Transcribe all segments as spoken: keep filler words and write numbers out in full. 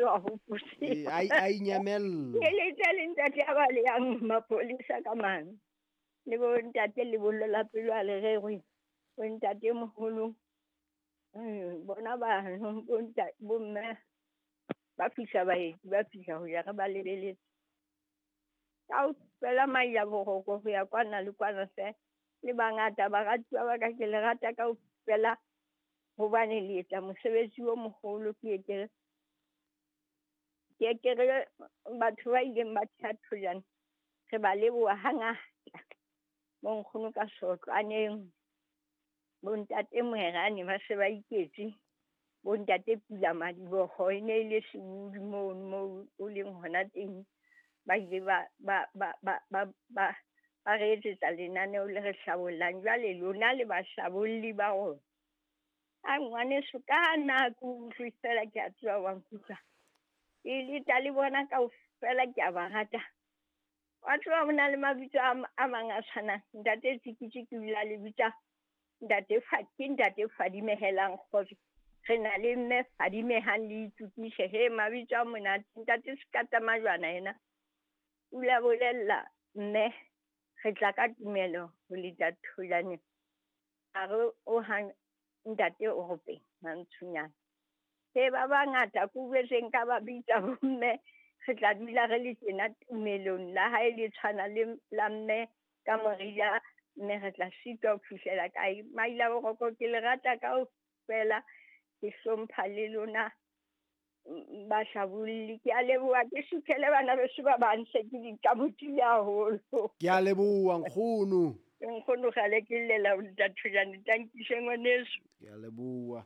wa hopotse. Eh, a a inyamella. Ke letse le ntate a ba le yang mapolesa ka mane. Le bo ntate le bollo la pelo a le rerwe. Bo ntate moholo. Bona ba bo ntate bo mme ba fihla baeti ba fihla ho ya re ba lebeletse. Kaofela maila boroko ho ya kwana le kwana hle. Le bangata baratuwa ba ka ke le rata kaofela hobane le etsa mosebetsi o moholo. Ke ke ke ke re batho ba ileng ba theha Thojane re ba leboha hangata. Bo nkgono ka sotlwaneng, bo ntate Moerane ba se ba iketse, bo ntate Pula Madiboho e ne e le sebudi mono moo o leng hona teng. Ba ile ba ba ba ba ba ba ba re etsetsa lenaneo le re hlabollang. Jwale lona le bahlabolli ba rona. A ngwaneso ka nako utlwe fela ke a tseba wa nkutlwa. Ke leta le bona kaofela ke a ba rata. Wa tseba ho na le mabitso a mang a tshwanang. Ntate Tsikitsi ke o ile a le bitsa ntate Fa, ke ntate Fadimehelang kgotso. Re na le mme Fadimehang le Itukise. He mabitso a monate. Ntate Sekata Majwana yena o ile a bolella mme re tla ka tumelo ho leta Thojane. A re o hang ntate o ropeng mantshunyana. He ba bangata ke utlwetseng ka ba bitsa bomme re tla dula re le tjena tumelong la hae le tshwana le la mme ka morila mme re tla sitwa ho fihlela kae. Maila boroko ke le rata kaofela, ke hlompha le lona bahlabolli. Ke a leboha, ke suthele bana beso ba bang se ke dikamotile haholo. Ke a leboha nkgono. Nkgono kgale ke llela ho leta Thojane, tankise ngwaneso. Ke a leboha.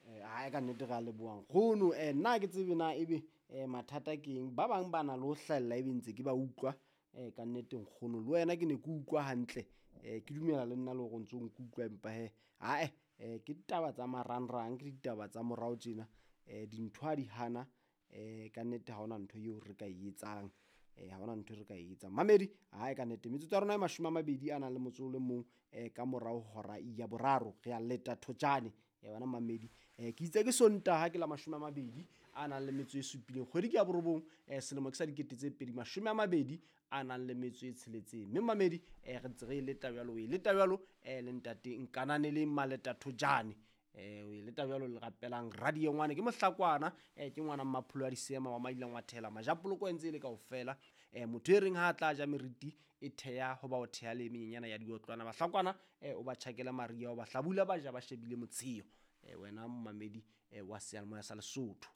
Eh ha ka nnete re a leboha nkgono. Eh nna ke tsebe na ebe eh mathata ke eng. Ba bang ba na le ho hlahella ebe ntse ke ba utlwa. Eh ka nnete nkgono le wena ke ne ke utlwa hantle. Eh ke dumela le nna le hore o ntso nkutlwa empa he ae eh ke ditaba tsa marangrang, ke ditaba tsa morao tjena. Eh dintho ha di hana eh ka nnete ha hona ntho eo re ka e etsang. Eh ha hona ntho re ka e etsang. Mamedi hae ka nnete metsotso ya rona e mashome a mabedi a nang le motso o le mong eh ka morao hora ya boraro re a leta Thojane. Eh wena mamedi eh ke itse ke Sontaha ke la mashome a mabedi a nang le metso e supileng kgwedi ke ya borobong eh selemo ke sa dikete tse pedi mashome a mabedi a nang le metso e tsheletseng. Mme mamedi eh re ntse re e leta jwalo, o e leta jwalo eh le ntate Nkananeleng Maleta Thojane. Eh o e leta jwalo le rapelang radio ngwane ke mohlakwana eh ke ngwana Mmapholo a Disema wa Maila Ngwathela Majapoloko e ntse e le kaofela. Eh motho e reng ha a tla ja meriti e theha ho ba o theha le menyenyana ya diotlwana bahlakwana eh o ba tjhakela Maria o ba hlabula ba ja ba shebile motsheo. Eh wena momamedi eh wa seyalemoya sa Lesotho.